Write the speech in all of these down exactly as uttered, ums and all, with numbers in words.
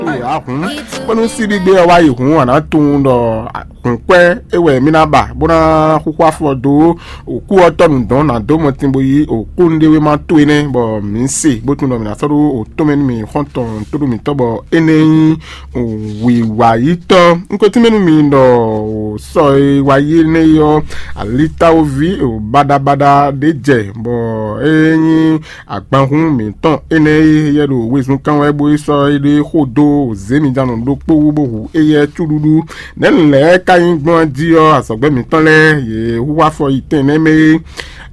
Ahun, bónú síbígbé ɔ́ wá yi hǔn, a nǎ tunwun ɖɔ hǔnkwɛ́ é wɛ mì ná ba, bó ná xúxú afɔ dó òkú ɔ́ tɔ́ nǔ dɔn ná dó mɔtin bó yí òkú nɖéwéma towe nɛ́, bɔ mǐ se bó tunwun ɖɔ mǐ ná sɔ́ ɖó òtɔ́mɛ nú mì xɔ́ntɔn tóɖó mǐtɔn, bɔ énɛ́ nyí wǐwayítɔ́. Un ko tínmɛ nú mi ɖɔ sɔ e wá yi énɛ́ ɔ́, alitáwóví baɖabaɖa ɖé jɛ, bɔ é nyí agbanhún mǐtɔn énɛ́ e yɛ ɖo wezun kán wɛ bó yi sɔ́ éɖée xo dó zěmijannɔ ɖokpó wú bó hu éyɛ́ cúɖúɖú. Nɛ̌ nǔ lɛ́ɛ ka nyí gbɔn jí ɔ́, azɔ̌gbɛ́ mǐtɔn lɛ́ɛ yě hu afɔ yi tɛn nɛ́ mɛ é.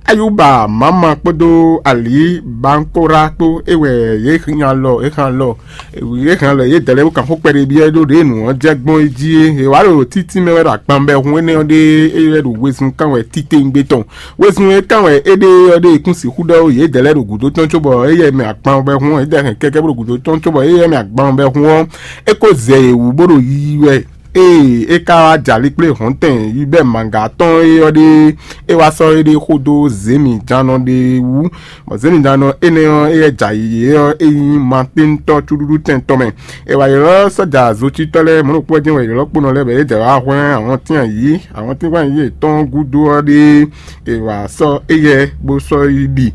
Ayuba Mama kpódó Ali Bankora kpó é wɛ yě hɛn alɔ é hɛn alɔ yě hɛn alɔ yě dɛ̌ lɛ́ɛ bó kan xó kpɛɖé byɔ́ ɖó ɖě nǔ ɔ́ jɛ gbɔn é jí é. È wǎ ɖo títí mɛ wɛ ɖo agbanbɛhun énɛ́ ɔ́ ɖe é wɛ ɖo wezun kán wɛ titewungbe tɔn. Wezun e kán wɛ é ɖe ɔ́ ɖe kún sixú ɖɔ yědɛɛ lɛ́ɛ ɖo gǔdo tɔn cóbɔ éyɛ́ mɛ agban bɔ hun ɔ́, yědɛɛ hɛn kɛkɛ bó ɖo gǔdo tɔn cóbɔ éyɛ́ mɛ agban bɔ hun ɔ́, é ko zɛ yě wú bó ɖo yiyi wɛ. Ée é ka wá jɛ ali kplé hɔ̌ntɛn yi bɛ́ mǎga tɔn é ɔ́ ɖe, é wá sɔ́ éɖée xó dó zěmijannɔ ɖé wú, bɔ zěmijannɔ énɛ́ ɔ́, éyɛ́ jɛ ayǐ é ɔ́, é nyí Matíntɔ́ cúɖúɖú tɛn tɔn mɛ. È wǎ ylɔ́ sɔ́ja zocitɔ́ lɛ́ɛ mɔ̌ ɖokpó ɔ́ jɛ́n wɛ è ylɔ́ kpónɔ lɛ́ɛ bɔ yě jɛ wá hwlɛ́n awɔntín ayǐ, awɔntín gbán yě tɔn gúdo ɔ́ ɖíe è wǎ sɔ́ éyɛ́ bó sɔ́ yi ɖi.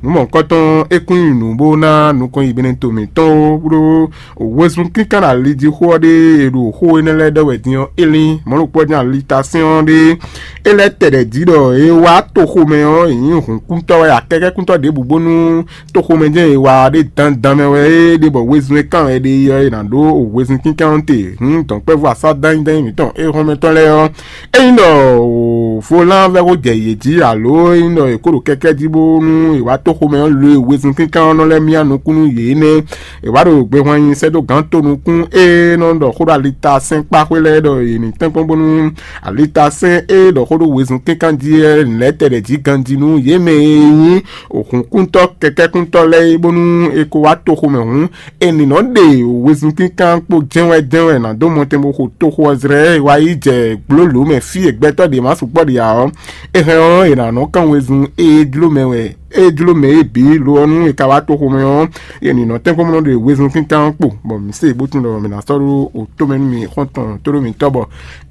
Nǔ mɔ̌hunkɔtɔn é kún nyi nǔ bó ná nukɔn yi Benɛto mǐtɔn ó, ɖó wezun kínkán ali jí xó ɔ́ ɖé è ɖo xó énɛ́ lɛ́ɛ ɖɔ wɛ din ɔ́, é lín mɔ̌ ɖokpó ɔ́ jɛ́n ali ta sɛ́n ɔ́ ɖé. É lɛ́ tɛ ɖɛ̌ jí ɖɔ é wá toxomɛ ɔ́, è nyǐ hǔnkúntɔ́ wɛ, akɛkɛ́kúntɔ́ ɖěbǔ bónú toxomɛ jɛ́n è wa ɖé dandan mɛ wɛ é ɖe bɔ wezun e kán wɛ é ɖe yi ɔ́, è nǎ ɖó wezun kínkán ɔ́ te. Hǔn dɔ̌nkpɛvú asá dányídányí mǐtɔn éhɔ́nmɛtɔ́ lɛ́ɛ ɔ́, ényí ɖɔ Volán vɛ́ xó jɛ yě jí, alo ényí ɖɔ è kó ɖo kɛkɛ́ jí bónú è wá tó xomɛ ɔ́, lo e wezun kínkán ɔ́ nɔ lɛ́ myá nukún nú yě nɛ́. È wǎ ɖo gbehwan nyi sɛ́ dó gǎn tonukún e nɔ ɖɔ xó ɖo alitasɛ́n kpáxwé lɛ́ɛ ɖɔ yě ní tɛ́nkpɔ́n bónú alitasɛ́n e ɖɔ xó ɖo wezun kínkán jí lɛ́ɛ lɛ̌ tɛ ɖɛ jí ganjí nú yě mɛ e nyí hǔnkúntɔ́ kɛkɛ́kúntɔ́ lɛ́ɛ é, bónú è ko wá toxo mɛ hǔn, è nǐ nɔ ɖe wezun kínkán kpó jɛ́nwɛ jɛ́nwɛ ná dó mɔtɛn bó xo toxo ɔ́ zlɛ́ wá yi jɛ gblǒlǒ mɛ fí e gbɛtɔ́ ɖě ma sukpɔ́ ɖe ǎ ɔ́, é hɛn ɔ́, è nǎ nɔ kán wezun e jló mɛ wɛ, e jló mɛ é bǐ lo ɔ́ nú è ka wá toxo mɛ ɔ́, è nǐ nɔ tɛ́nkpɔ́n bó nɔ ɖe wezun kínkán kpó, bɔ mǐ se bó tunwun ɖɔ mǐ ná sɔ́ ɖó wǒtomɛ nú mì xɔ́ntɔn tóɖó mǐtɔn bɔ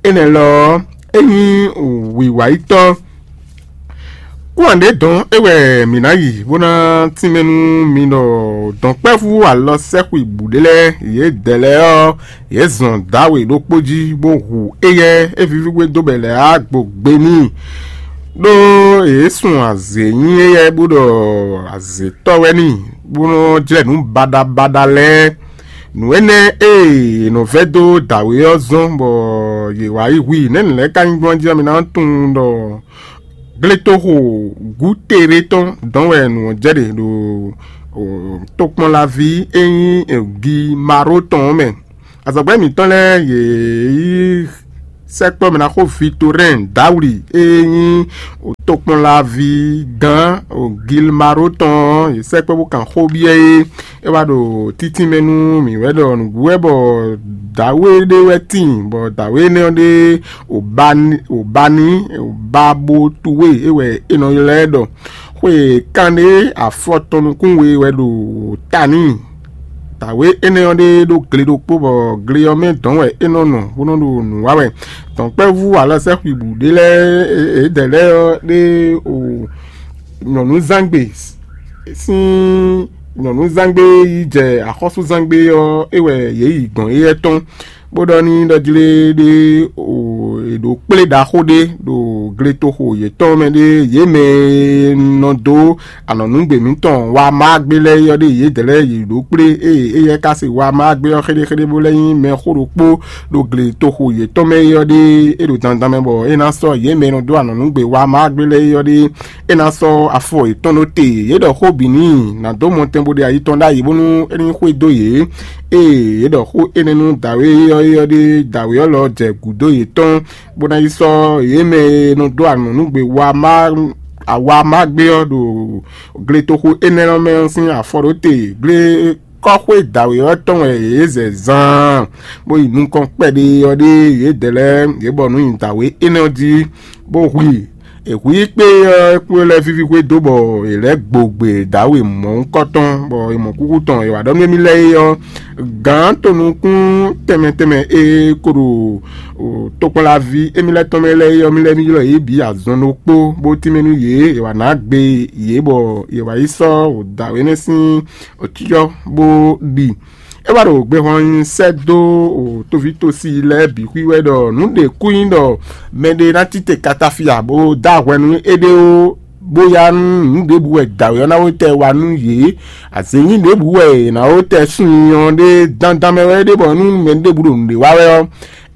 énɛ́ lɔ ɔ́, é nyí wǐwáyítɔ́. Kúnwǎn ɖě dɔn é wɛ mǐ ná yi bó ná tínmɛ nú mi ɖɔ dɔ̌nkpɛ́vú alɔ sɛ́xwǐbǔ ɖé lɛ́ɛ, yědɛɛ lɛ́ɛ ɔ́, yě zɔn dǎwe ɖokpó jí bó hu éyɛ́ é víví gbé dó bɔ è lɛ̌ á gbo gbe n'i. Ɖó yě sun azě nyi éyɛ́ bó ɖɔ azětɔ́ wɛ n'i, bó nɔ́ jlɛ́ nǔ baɖabaɖa lɛ́ɛ. Nǔ énɛ́ e è nɔ vɛ́ dó dǎwe ɔ́ zɔ́n bɔ yě wá yi hu i. Nɛ̌ nǔ lɛ́ɛ ka nyí gbɔn jí ɔ́, mi ná tunwun ɖɔ gletoxo Gútere tɔn dɔn wɛ nǔ ɔ́ jɛ ɖe ɖo tokpɔnlaví e nyí Gimaró tɔn ɔ́ mɛ. Azɔ̌gbɛ́ mǐtɔn lɛ́ɛ yě yi sɛkpɔ́ mɛ ná xo Vitorɛ́n Dawli e nyí tokpɔnlaví gán Gilmaró tɔn ɔ́, yě sɛkpɔ́ bó kan xó byɔ́ é. É wá ɖo títínmɛ nú mǐ wɛ ɖɔ nǔgbó wɛ bɔ dǎwe ɖé wɛ tíin, bɔ dǎwe énɛ́ ɔ́ ɖe Obani, Obani, Babotuwe é wɛ è nɔ ylɔ́ ɛ ɖɔ. Xwe kanɖé afɔ tɔn nukún we wɛ ɖo ta n'i. Dǎwe énɛ́ ɔ́ ɖe ɖó gle ɖokpó, bɔ gle ɔ́ mɛ dɔn wɛ é nɔ nɔ bó nɔ ɖo nǔ wa wɛ. Dɔ̌nkpɛvú alɔ sɛ́xwǐbǔ ɖé lɛ́ɛ, yědɛɛ lɛ́ɛ ɔ́ ɖe o nyɔ̌nuzángbe sín nyɔ̌nuzángbe yi jɛ axɔ́súzángbe ɔ́, é wɛ yě yi gbɔn éyɛ́ tɔn, bó ɖɔ n'i ɖɔ jlé ɖé o è ɖǒ kplé ɖaxó ɖé ɖo gletoxo yětɔn mɛ ɖé, yě mɛ e nɔ dó anɔ̌núgbě mǐtɔn wa má gbé lɛ́ɛ é ɔ́ ɖe yědɛɛ lɛ́ɛ yě ɖǒ kplé, ée éyɛ́ ka se wa má gbé ɔ́ xéɖéxéɖé bó lɛ́ nyí mɛxó ɖokpó ɖo gletoxo yětɔn mɛ é ɔ́ ɖe, é ɖo dandan mɛ bɔ é ná sɔ́ yě mɛ e nɔ dó anɔ̌núgbě wa má gbé lɛ́ɛ é ɔ́ ɖe, é ná sɔ́ afɔ yětɔn ɖó te. Yě ɖɔ xó bǐ n'i ná dó mɔtɛn bó ɖe ayi tɔn ɖ'ayǐ bónú é ní xwedó yě. Ée yě ɖɔ xó énɛ́ nú dǎwe ɔ́ é ɔ́ ɖe, dǎwe ɔ́ lɔ jɛ gǔdo yětɔn, bó ná yi sɔ́ yě mɛ e nɔ dó anɔ̌núgbě wa má awa má gbé ɔ́ ɖo gletoxo énɛ́ ɔ́ mɛ ɔ́ sín afɔ ɖó te. Glekɔ́xwé dǎwe ɔ́ tɔn wɛ yě zɛ zaan, bó yi nukɔn kpɛɖé ɔ́ ɖe yědɛɛ lɛ́ɛ yě bɔ nǔ nyi dǎwe énɛ́ ɔ́ jí, bó hu i. È hu yí kpé ɔ́, é kplé lɛ́ɛ víví xwé dó bɔ è lɛ́ gbo gbe dǎwe mɔ̌hunkɔtɔn, bɔ è mɔ kúkú tɔn è wǎ ɖɔ nú émí lɛ́ɛ é ɔ́, gǎn tonukún tɛnmɛ tɛnmɛ e ko ɖo tokpɔnlaví émí lɛ́ɛ tɔn mɛ lɛ́ɛ é ɔ́, mí lɛ́ɛ mí ylɔ́ yě bǐ azɔn ɖokpó, bó tínmɛ nú yě; è wǎ ná gbe yě bɔ è wǎ yi sɔ́ dǎwe énɛ́ sín cyɔ bó ɖi. É wá ɖo gbehwan nyi sɛ́ dó tóví tosi lɛ́ɛ bǐ xwí wɛ ɖɔ nǔ ɖě kú nyí ɖɔ mɛɖé ná tite katafia bó dó ahwɛ nú éɖée ó, bó yá nú nǔ ɖěbǔ wɛ dǎwe ɔ́ ná wó tɛ wa nú yě. Azě nyí ɖěbǔ wɛ è nǎ wó tɛ sun nyi ɔ́ ɖé dandan mɛ wɛ é ɖe bɔ nú mɛ ɖěbǔ ɖo nǔɖé wa wɛ ɔ́,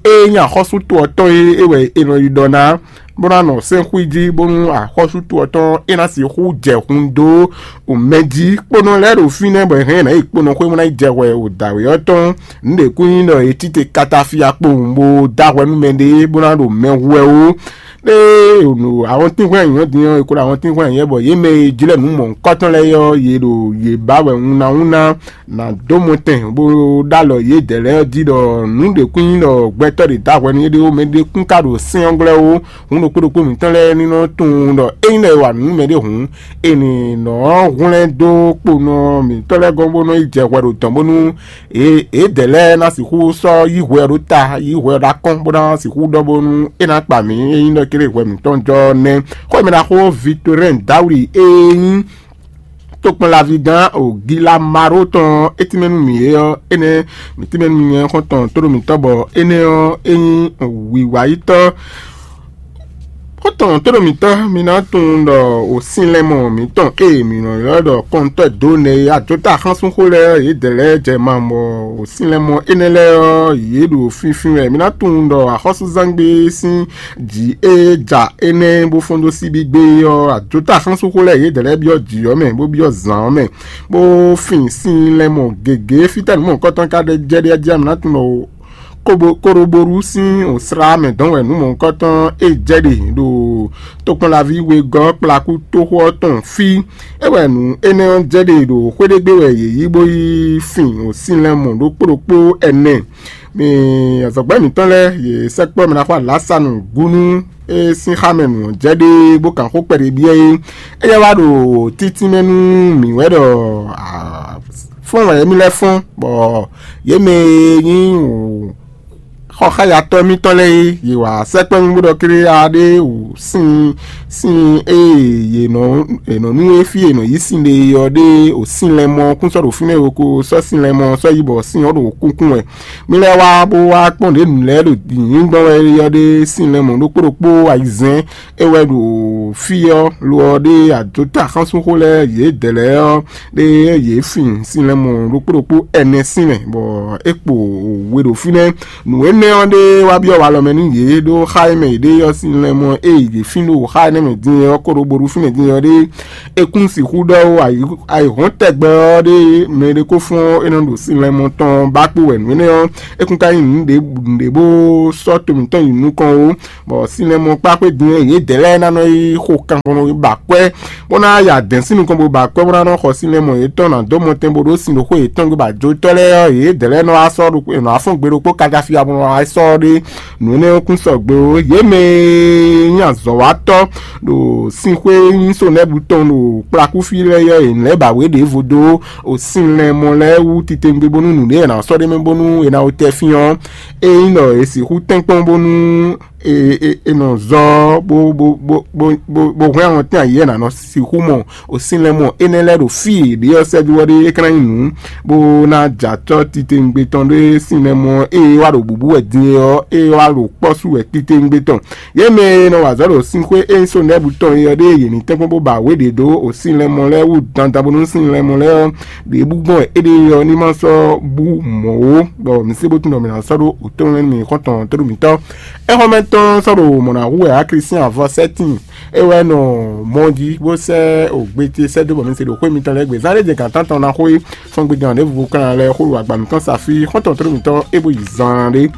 ée nyí axɔ́sú to ɔ́ tɔn e é wɛ è nɔ yi ɖɔ ná, bó ná nɔ sɛ́n xwí jí, bónú axɔ́sú to ɔ́ tɔn é ná sixú jɛ hun dó mɛ jí. Kponɔ lɛ́ɛ ɖo fínɛ́ bɔ è hɛn yě ná yi kponɔ xwé bó ná yi jɛ hwɛ ɖo dǎwe ɔ́ tɔn. Nǔ ɖě kún nyí ɖɔ è tite katafia kpowun bó dó ahwɛ nú mɛɖé bó ná ɖo mɛ hu wɛ ó. Ɖé ɖo awɔntínhwɛ́n anyǔ ɔ́ din ɔ́, è ko ɖo awɔntínhwɛ́n anyǔ ɔ́ bɔ yě mɛ e jlɛ́ nǔ mɔ̌hunkɔtɔn lɛ́ɛ ɔ́, yě ɖo yě ba wɛ wunna wunna ná dó mɔtɛn bó ɖó alɔ yědɛɛ lɛ́ɛ jí ɖɔ nǔ ɖě kún nyí ɖɔ gbɛtɔ́ ɖě dó ahwɛ nú éɖée ó, mɛɖé kún ka ɖo sɛ́n ɔ́ glɔ́ ó. Hǔn ɖokpó ɖokpó mǐtɔn lɛ́ɛ ní nɔ tunwun ɖɔ ényí lɛ́ è wa nǔ nú mɛɖé hǔn, è nǐ nɔ hwlɛ́n dó kponɔ mǐtɔn lɛ́ɛ gɔ́n bó nɔ yi jɛ hwɛ ɖo dɔ̌n bónú yědɛɛ lɛ́ɛ ná sixú sɔ́ yí hwɛ ɔ́ ɖó ta, yí hwɛ ɔ́ ɖó akɔ́n, bó ná sixú ɖɔ bónú é ná kpa mǐ, ényí ɖɔ kéré hwɛ mǐtɔn jɔ nɛ́. Xó e mɛ ɖaxó Victorin Dawli e nyí tokpɔnlaví gán Gilamaro tɔn ɔ́, é tínmɛ nú mǐ é ɔ́, énɛ́ mǐ tínmɛ nú nyɛ xɔ́ntɔn tóɖó mǐtɔn bɔ énɛ́ ɔ́, é nyí wǐwáyítɔ́. Xɔ́ntɔn tóɖó mǐtɔn, mi ná tunwun ɖɔ wǒsinlɛ́mɔ mǐtɔn e mǐ nɔ ylɔ́ ɖɔ kɔntɔ́ dó nɛ́ é, ajotá axánsúnxó lɛ́ɛ yědɛɛ lɛ́ɛ jɛ ma bɔ wǒsinlɛ́mɔ énɛ́ lɛ́ɛ ɔ́, yě ɖo fínfín wɛ. Mi ná tunwun ɖɔ axɔ́súzangbe sín jǐ e ja énɛ́ bó fɔ́n dó síbígbe é ɔ́, ajotá axánsúnxó lɛ́ɛ yědɛɛ lɛ́ɛ byɔ́ jǐ ɔ́ mɛ, bó byɔ́ zǎn ɔ́ mɛ, bó fin sin lɛmɔ gěgé. Fítɛ́ nǔ mɔ̌hunkɔtɔn ka ɖe jɛ ɖe jí, a nǎ tunwun ɖɔ kóɖóbóɖú sín wǒslá mɛ dɔn wɛ nǔ mɔ̌hunkɔtɔn e jɛ ɖe ɖo tokpɔnlaví wegɔ́ kplakú toxo ɔ́ tɔn fí. É wɛ nǔ énɛ́ ɔ́ jɛ ɖe ɖo xwé ɖé gbe wɛ yě yi bó yi fin wǒsin lɛmɔ ɖokpó ɖokpó ɛnɛ. Mi azɔ̌gbɛ́ mǐtɔn lɛ́ɛ, yě sɛkpɔ́ mɛ ná xo alǎsanu gúnú e sín xá mɛ nǔ ɔ́ jɛ ɖe bó kan xó kpɛɖé byɔ́ é. Éyɛ́ wá ɖo títínmɛ nú mǐ wɛ ɖɔ fɔ́n wɛ émí lɛ́ɛ fɔ́n, bɔ yě mɛ e nyí xɔxáyatɔ́ mítɔn lɛ́ɛ é, yě wá sɛkpɔ́ mì bó ɖɔ kléá ɖé wǔ sín sín e yě nɔ yě nɔ nú é fí e è nɔ yí sin ɖe é ɔ́ ɖé wǒ sin lɛ́ɛ mɔ kún sɔ́ ɖo fínɛ́ e ko sɔ́ sin lɛ́ɛ mɔ sɔ́ yi bɔ sin ɔ́ ɖo kúnkún wɛ. Mi lɛ́ wá bó wá kpɔ́n ɖě nǔ lɛ́ɛ ɖo nyǐnyí gbɔn wɛ é ɔ́ ɖé sin lɛ́ɛ mɔ ɖokpó ɖokpó ayizɛ́n é wɛ ɖo fí ɔ́, lo ɔ́ ɖé ajotá xánsúnxó lɛ́ɛ yědɛɛ lɛ́ɛ ɔ́ ɖé yě fin sin lɛ́ɛ mɔ ɖokpó ɖokpó ɛnɛ sín mɛ, bɔ é kpo we ɖo fínɛ́. Nǔ énɛ́ ɔ́ ɖé wá byɔ́ walɔ mɛ nú yě ɖó xá e mɛ yě ɖe ɔ́ sín lɛ́ɛ mɔ ée yě fín ɖo xá énɛ́ mɛ din ɔ́ kó ɖo bo ɖu fínɛ́ din ɔ́ ɖé. É kún sixú ɖɔ ó ayǐhɔ́n tɛgbɛ ɔ́ ɖé mɛ ɖé kó fɔ́n é nɔ ɖo sin lɛ́ɛ mɔ tɔn ba kpó wɛ nǔ énɛ́ ɔ́, é kún ka nyí nǔɖé nǔɖé bó sɔ́ to mǐtɔn yi nukɔn ó. Bɔ sin lɛ́ɛ mɔ kpá xwé din ɔ́, yědɛɛ lɛ́ɛ ná nɔ yi xo kan bó nɔ yi ba akwɛ́, bó ná ya dɛ̌n sín nukɔn bó ba akwɛ́ bó ná nɔ xɔ sin lɛ́ɛ mɔ yětɔn ná dó mɔ tɛn bó ɖó sin ɖo xwé yětɔn gbe ba jǒtɔ́ lɛ́ɛ ɔ́, yědɛɛ lɛ́ɛ nɔ wá sɔ́ ɖokpó è nɔ wá fɔ́n gbe ɖokpó káká fí abú nɔ wá sɔ́ ɖé. Nǔ énɛ́ ɔ́ kún sɔgbe ó. Yě mɛ e nyí azɔ̌watɔ́ ɖo sinxwé nyí Sonɛ́bu tɔn ɖo kplakúfí lɛ́ɛ yɔ́ yě lɛ́ ba wě ɖěvo dó o sin lɛmɔ lɛ́ɛ wú titewungbe bónú nǔɖé e è nǎ sɔ́ ɖ'é mɛ bónú è nǎ wó tɛ fín ɔ́, é nyí ɖɔ è sixú tɛ́nkpɔ́n bónú è nɔ zɔ bó bó hwɛ́n awɔntín ayǐ e è nǎ nɔ sixú mɔ o sin lɛmɔ énɛ́ lɛ́ɛ ɖo fí e è ɖe ɔ́ sɛ́ dó ɔ́ ɖé é ka ná nyí nǔ bó ná jɛ acɔ́ titewungbe tɔn ɖé sin lɛmɔ ée wá ɖo bǔbú wɛ din é ɔ́, ée wá ɖo kpɔ́ sú wɛ titewungbe tɔn. Yě mɛ e nɔ wa azɔ̌ ɖo sínxwé e nyí Sonɛ́bu tɔn é ɔ́ ɖée yě ní tɛ́nkpɔ́n bó ba wě ɖě dó o sin lɛmɔ lɛ́ɛ wú dandan bónú sin lɛmɔ lɛ́ɛ ɔ́ ɖě bú gbɔn wɛ éɖée ɔ́ ní ma sɔ́ bú mɔ̌ ó, bɔ mǐ sé bó tunwun ɖɔ mǐ ná sɔ́ ɖó wǔtɔ́nú mɛ nú mǐ xɔ́ntɔn tóɖó mǐtɔn. É xɔ́mɛ tɔn sɔ́ ɖo mɔ̌ ná hu wɛ á Klísyɛn avɔ sɛ́tin é wɛ nɔ mɔ jí bó sɛ́ ògbé ce sɛ́ dó bɔ mǐ se ɖo xwé mitɔn lɛ́ɛ gbe. Zán ɖé jɛ gǎn tántɔn ná xwé fɔ́n gbé gán ɖěvo kan lɛ́ɛ xó ɖo agba mǐtɔn sa fí xɔ́ntɔn tóɖó mǐtɔn é bó yi zaan ɖé.